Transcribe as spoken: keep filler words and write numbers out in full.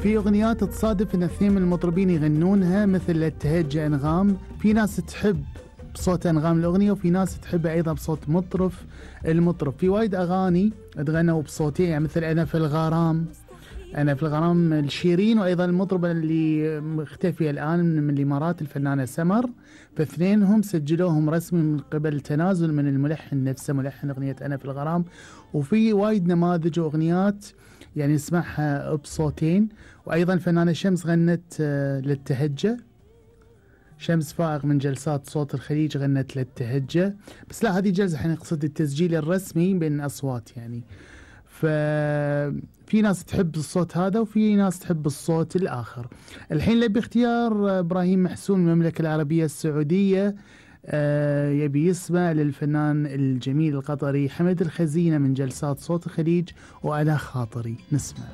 في أغنيات تصادف أن اثنين من المطربين يغنونها مثل لا تهجى أنغام. في ناس تحب بصوت أنغام الأغنية وفي ناس تحبها أيضا بصوت مطرف المطرب. في وايد أغاني تغنوا بصوتين، يعني مثل أنا في الغرام، أنا في الغرام الشيرين، وأيضا المطربة اللي مختفية الآن من الإمارات الفنانة سمر، فاثنينهم سجلوهم رسمي من قبل تنازل من الملحن نفسه، ملحن أغنية أنا في الغرام. وفي وايد نماذج وأغنيات يعني نسمعها بصوتين. وأيضا الفنانة شمس غنت للتهجة، شمس فائق من جلسات صوت الخليج غنت للتهجة، بس لا هذه جلسة حين قصد التسجيل الرسمي بين أصوات يعني. ففي ناس تحب الصوت هذا وفي ناس تحب الصوت الآخر. الحين لبي اختيار إبراهيم محسون من المملكة العربية السعودية، آه يبي يسمع للفنان الجميل القطري حمد الخزينة من جلسات صوت الخليج وعلى خاطري. نسمع.